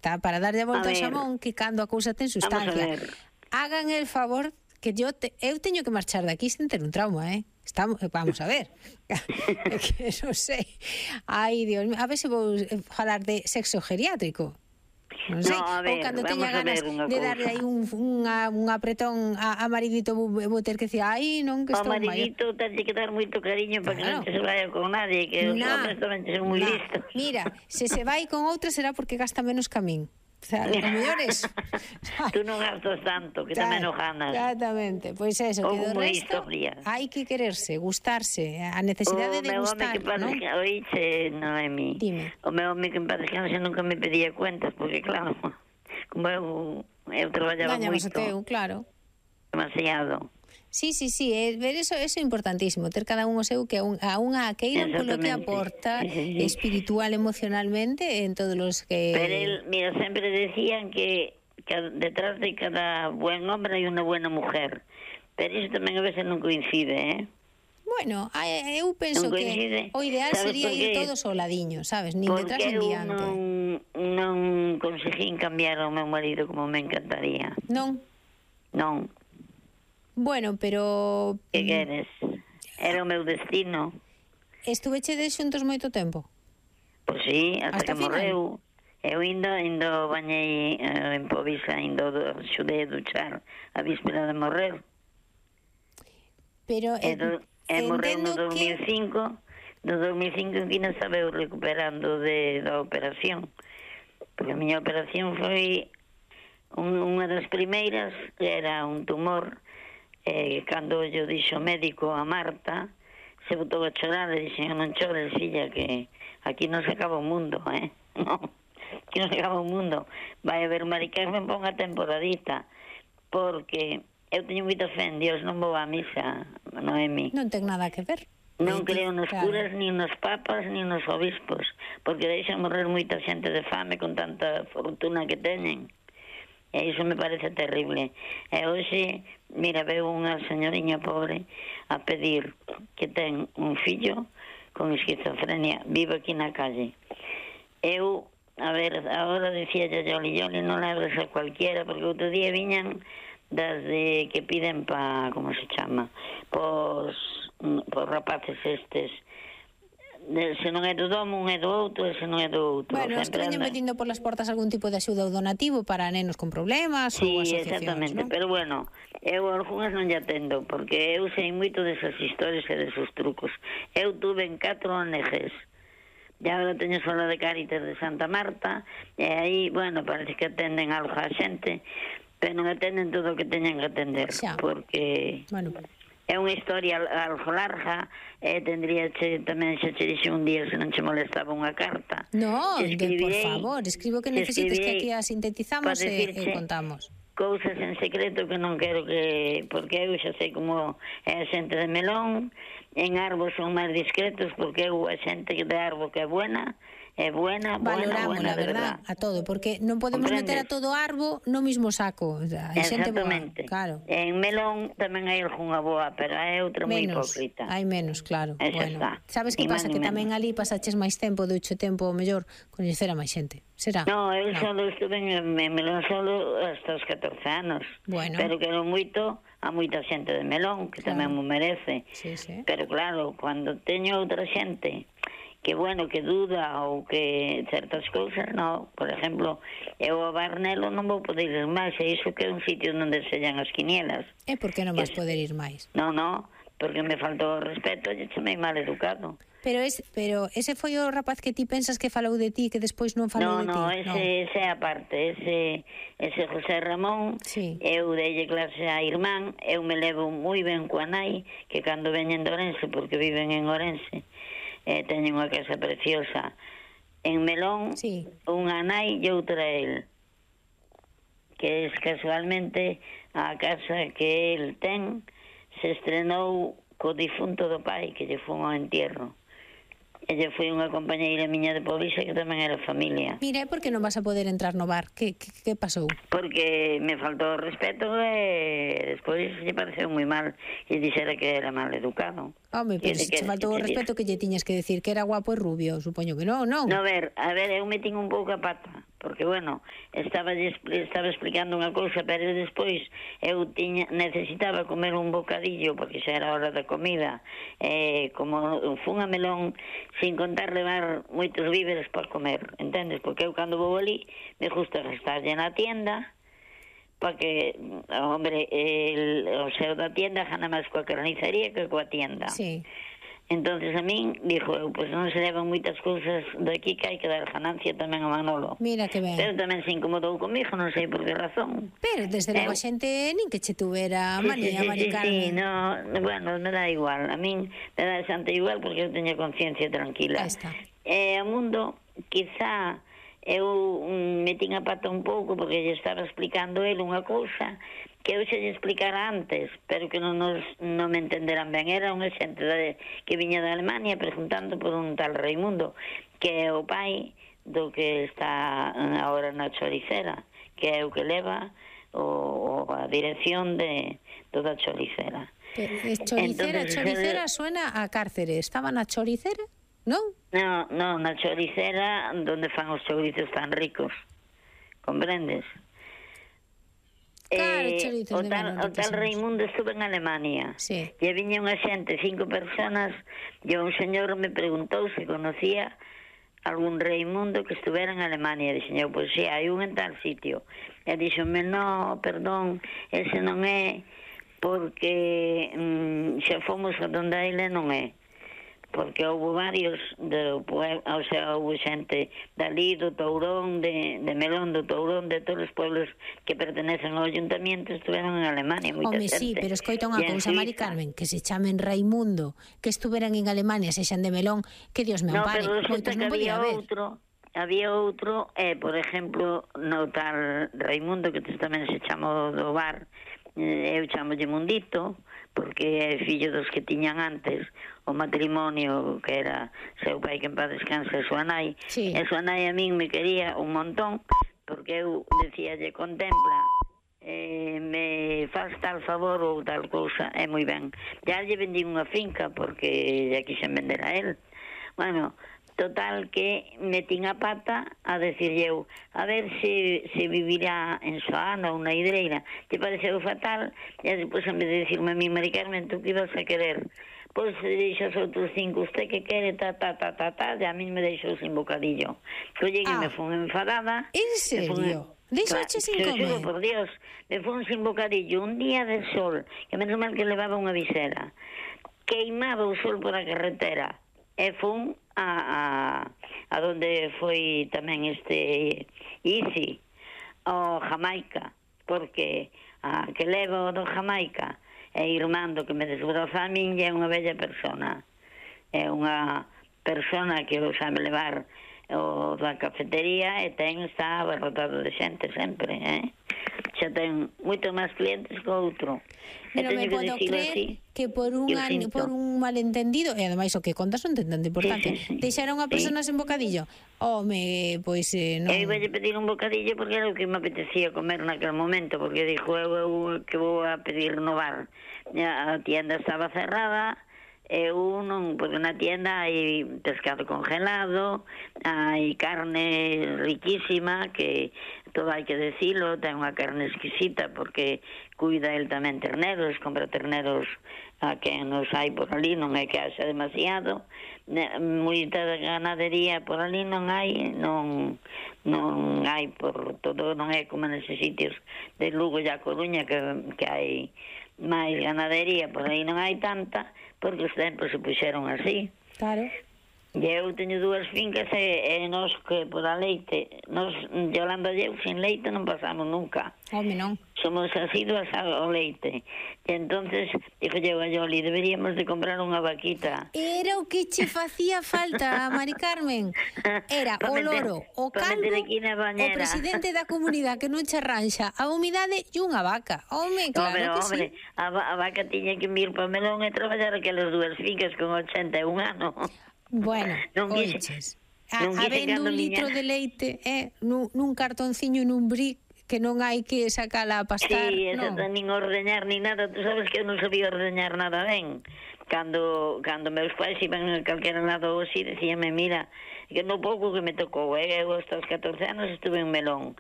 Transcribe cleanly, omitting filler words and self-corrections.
está para darlle a volta ao ver. xamón, que cando a cousa ten sustancia. Vamos a ver. Hagan el favor que eu teño que marchar de aquí sin ter un trauma, vamos a ver. Que non sei. Ai, Dios mío, a ver se vou falar de sexo geriátrico. Non sei, a ver, ou cando teña ganas de darle aí un apretón a maridito, vou ter que decir, ai, non, que O estou maior. maridito tense que dar moito cariño para que non se vaya con nadie, que os hombres tamén son moi listos. Mira, se vai con outra será porque gasta menos que a min. O sea, o mellor es... Tú non gastas tanto, que tamén o ganas. Exactamente, pois eso, que do resto hai que quererse, gustarse, a necesidade de gustar, non? Oíche, Noemi, dime. O meu home que en paz descanse nunca me pedía cuentas, porque claro, como eu traballaba Gañamos moito, o teu, claro. Demasiado. Sí, ver eso é importantísimo, ter cada un o seu, que a unha queira polo que aporta espiritual, emocionalmente, en todos los que... Pero él, mira, sempre decían que detrás de cada buen hombre hai unha buena mujer, pero iso tamén a veces non coincide, Bueno, eu penso que o ideal sería ir todos ao ladiño, sabes, nin detrás nin diante. Porque eu non conseguín cambiar ao meu marido como me encantaría. Non? Non. Bueno, pero... Que queres? Era o meu destino. Estuvechedes xuntos moito tempo? Pois sí, hasta que morreu. Eu indo bañei en Povisa, xudei a duchar a víspera de morrer. Pero morreu no 2005. No 2005 que non estaba eu recuperando da operación. Porque a miña operación foi unha das primeiras, que era un tumor. Cando yo dixo o médico a Marta, se botou a chorar e dixen, non chores, filla, que aquí non se acaba o mundo, non, aquí non se acaba o mundo, vai haber Mari Carmen para unha temporadita, porque eu teño moita fe en Dios, non vou á misa, Noemi. Non ten nada que ver. Non creo nos curas, nin nos papas, nin nos obispos, porque deixan morrer moita xente de fame con tanta fortuna que teñen. E iso me parece terrible. E hoxe, mira, veo unha señoriña pobre a pedir que ten un fillo con esquizofrenia, vivo aquí na calle. Eu, a ver, agora dicía Yoli, non labres a cualquiera, porque outro día viñan das de que piden pa, como se chama, por rapaces estes, se non é do domo, un é do outro, e se non é do outro. Bueno, es que veñen metindo por las portas algún tipo de axuda ou donativo para nenos con problemas ou asociacións, exactamente, ¿no? Pero bueno, eu algunhas non lle atendo, porque eu sei moito desas historias e desos trucos. Eu tuve en 4 ONGs, e agora teño sola de Cáritas de Santa Marta, e aí, bueno, parece que atenden algo a xente, pero non atenden todo o que teñen que atender, porque... Bueno, é unha historia algo larga, tendría tamén xa che dixo un día se non che molestaba unha carta. No, por favor, escribo que necesites que aquí a sintetizamos e contamos. Cousas en secreto que non quero que... Porque eu xa sei como é a xente de Melón, en Arbo son máis discretos, porque eu a xente de Arbo que é buena, valoramos, la verdad, a todo, porque non podemos meter a todo Arbo no mismo saco. Exactamente. Claro. En Melón tamén hai algunha boa, pero hai outra moi hipócrita. Hai menos, claro. Bueno, sabes que pasa? Que tamén ali pasaches máis tempo, ducho tempo, o mellor, coñecer a máis xente. Será? No, eu solo estuve en Melón solo hasta os 14 anos. Bueno. Pero quero moito a moita xente de Melón, que tamén mo merece. Sí. Pero claro, cando teño outra xente que, bueno, que duda ou que certas cousas, no. Por exemplo, eu a Barnelo non vou poder ir máis, e iso que é un sitio onde sellan as quinielas. E por que non vas poder ir máis? No, porque me faltou o respeto e chamei mal educado. Pero ese foi o rapaz que ti pensas que falou de ti, que despois non falou de ti? No, ese aparte, ese José Ramón, eu deille clase a irmán, eu me levo moi ben coa nai, que cando veñen de Orense, porque viven en Orense, teñen unha casa preciosa en Melón, unha nai e outra el, que es casualmente a casa que el ten se estrenou co difunto do pai, que lle fun ao entierro. e lle foi unha compañeira miña de Povisa que tamén era familia. Mira, por que non vas a poder entrar no bar? Que pasou? Porque me faltou o respeto e despois lle pareceu moi mal e dixera que era mal educado. Home, pero se che faltou o respeto que lle tiñas que decir que era guapo e rubio, supoño que non, non? No, a ver, eu metín un pouco a pata, porque, bueno, estaba explicando unha cousa, pero despois eu necesitaba comer un bocadillo, porque xa era hora da comida, como fun a Melón, sin contar levar moitos víveres para comer, entendes? Porque eu cando vou ali, me gusta gastarlle na tienda, porque, hombre, o seu da tienda gana máis coa carnicería que coa tienda. Sí. Entonces a min, dixo eu, pois non se levan moitas cousas daqui que hai que dar ganancia tamén a Manolo. Mira que ben. Pero tamén se incomodou comigo, non sei por que razón. Pero desde logo a xente nin que che tuvera manía, Mari Carmen. Sí, no, bueno, me dá igual. A min me dá bastante igual porque eu teño conciencia tranquila. Aí está. O mundo, quizá eu metín a pata un pouco porque lle estaba explicando ele unha cousa que eu xe lle explicara antes, pero que non me entenderan ben. Era unha xente que viña de Alemania preguntando por un tal Raimundo, que é o pai do que está agora na choricera, que é o que leva a dirección de toda a choricera. Choricera suena a cárcere. Estaba na choricera? Non? No, na choricera donde fan os chourizos tan ricos, comprendes? Claro, o tal Raimundo estuve en Alemania, sí. E viña unha xente, 5 personas, e un señor me preguntou se conocía algún Raimundo que estuvera en Alemania. E dixen eu, pois sí, hai un en tal sitio. E dixenme, no, perdón, ese non é, porque xa fomos a donde ele non é. Porque houve varios o sea, houve xente dali, do Tourón, de Melón, do Tourón, de todos os pueblos que pertenecen ao ayuntamiento, estuveron en Alemania, moita xente. Sí, pero escoita unha cousa, Mari Carmen, que se chamen Raimundo, que estuveran en Alemania, sexan de Melón, que Dios me ampare, moitos non podía haber. Había outro, por exemplo, no tal Raimundo, que tamén se chamou do bar, eu chamolle Mundito, porque é fillo dos que tiñan antes o matrimonio, que era seu pai que en paz descansa e súa nai. Sí. E súa nai a min me quería un montón, porque eu decíalle, contempla, me faz tal favor ou tal cousa, é moi ben. Ya lle vendí unha finca porque ya quixen vender a él. Bueno, total que metín a pata a decirlle eu, a ver se vivirá en Soana ou na Hidreira. Te pareceu fatal, e depois en vez de decirme a mí, Mari Carmen, tú que ibas a querer? Pois deixas outros 5, usted que quere, e a mí me deixou sin bocadillo. Collei que me fun enfadada. En serio? Deixache sin comer? Xuro por Dios, me fun sin bocadillo, un día de sol, que menos mal que levaba unha visera. Queimaba o sol por a carretera, e fun a donde foi tamén Isi, o Jamaica, porque a que levo do Jamaica é Irmando, que me desbroza a min, e é unha bella persona. É unha persona que o sabe levar o da cafetería e está abarrotado de xente sempre, xa ten moito máis clientes que outro. Pero me podo creer que por un malentendido, e ademais o que contas non ten tanto importante, deixaron a persona sen bocadillo. Home, pois non. Eu iba a pedir un bocadillo porque era o que me apetecía comer naquele momento, porque dixo eu que vou a pedir no bar. A tienda estaba cerrada, eu non, porque na tienda hai pescado congelado, hai carne riquísima, que todo hai que decilo, ten unha carne exquisita porque cuida el tamén terneros, compra terneros a que nos hai por ali, non é que haxa demasiado, moita ganadería por ali non hai, non hai por todo, non é como neses sitios de Lugo e a Coruña que hai máis ganadería, por aí non hai tanta, porque os tempos se puxeron así. Claro. E eu teño 2 fincas e nos que por a leite, nos, Yolanda e eu, sin leite non pasamos nunca. Home, non. Somos asiduas ao leite. E entonces, dixo eu a Yoli, deberíamos de comprar unha vaquita. Era o que che facía falta, Mari Carmen. Era o loro, o calvo, o presidente da comunidade que non che arranxa a humidade e unha vaca. Home, claro que sí. A vaca tiña que vir para Melón e traballar aquelas 2 fincas con 81 anos. Bueno, oiches. Habendo un litro de leite nun cartonciño nun brick que non hai que sacala a pastar, sí, non? Sí, nin ordeñar, nin nada. Tú sabes que eu non sabía ordeñar nada ben. Cando meus pais iban a calquera lado así, decíame, mira, que no pouco que me tocou, eu hasta os 14 anos estuve en Melón,